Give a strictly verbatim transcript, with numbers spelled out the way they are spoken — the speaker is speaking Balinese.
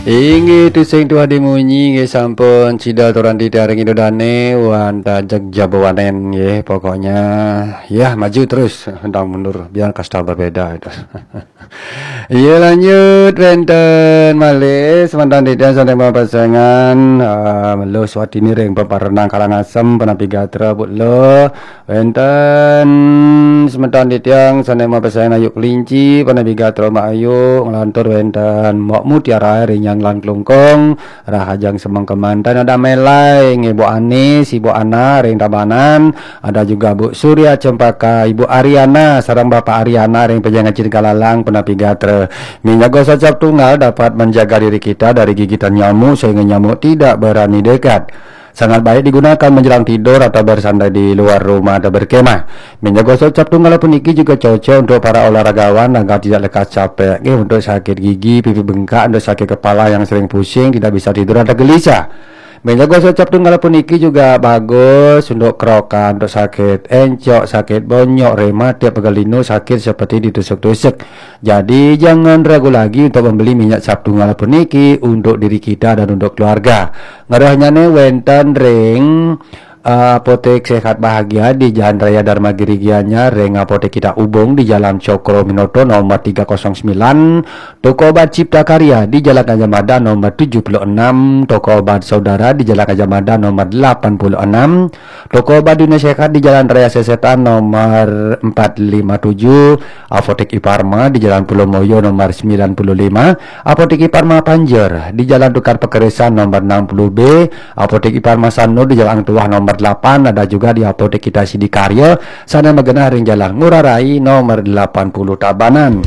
Inggih tusing tuah dimunyi, inggih sampun sida turun titiang ring Ida Dane, wantah jeg jaba wanen, nggih. Pokoknya, ya, maju terus, pantang mundur, biar kasta berbeda itu. Iya, lanjut wenten malih semeton titiang sané mapasengan, ah, Luh Swatini ring Peparenang Karangasem, punapi gatra, Bu Luh. Wenten semeton titiang sané mapesengan Ayu Kelinci, punapi gatra Mbak Ayu, nglantur wenten Mbok Mutiara ring Nyanglan Klungkung, rahajeng semeng kemanten, ada Melai, nggih, Bu Anis, Ibu Ana ring Tabanan, ada juga Bu Surya Cempaka, Ibu Ariana, sareng Bapak Ariana ring Pejengan Cinta Galalang, punapi gatra. Minyak gosok cap tunggal dapat menjaga diri kita dari gigitan nyamuk sehingga nyamuk tidak berani dekat. Sangat baik digunakan menjelang tidur atau bersantai di luar rumah atau berkemah. Minyak gosok cap tunggal puniki juga cocok untuk para olahragawan agar tidak lekas capek. Nggih, untuk sakit gigi, pipi bengkak, untuk sakit kepala yang sering pusing, tidak bisa tidur atau gelisah. Minyak gosok cap tunggal puniki juga bagus untuk kerokan, untuk sakit encok, sakit bonyok, rematik, pegal linu, sakit seperti ditusuk-tusuk. Jadi, jangan ragu lagi untuk membeli minyak cap tunggal puniki untuk diri kita dan untuk keluarga. Ngerohnyané wénten ring, eh, Apotek Sehat Bahagia di Jalan Raya Dharma Giri Gianyar, ring Apotek Kita Ubung di Jalan Cokroaminoto nomor tiga kosong sembilan, toko obat Cipta Karya di Jalan Gajah Mada nomor tujuh puluh enam, toko obat Saudara di Jalan Gajah Mada nomor delapan puluh enam, toko obat Dunia Sehat di Jalan Raya Sesetan nomor empat lima tujuh, Apotek Iparma di Jalan Pulau Moyo nomor sembilan puluh lima, Apotek Iparma Panjer di Jalan Tukar Pekerisan nomor enam puluh B, Apotek Iparma Sanur di Jalan Tuah nomor delapan, ada juga di Apotek Kita Sidikarya, sané magenah ring Jalan Ngurah Rai nomor delapan puluh Tabanan.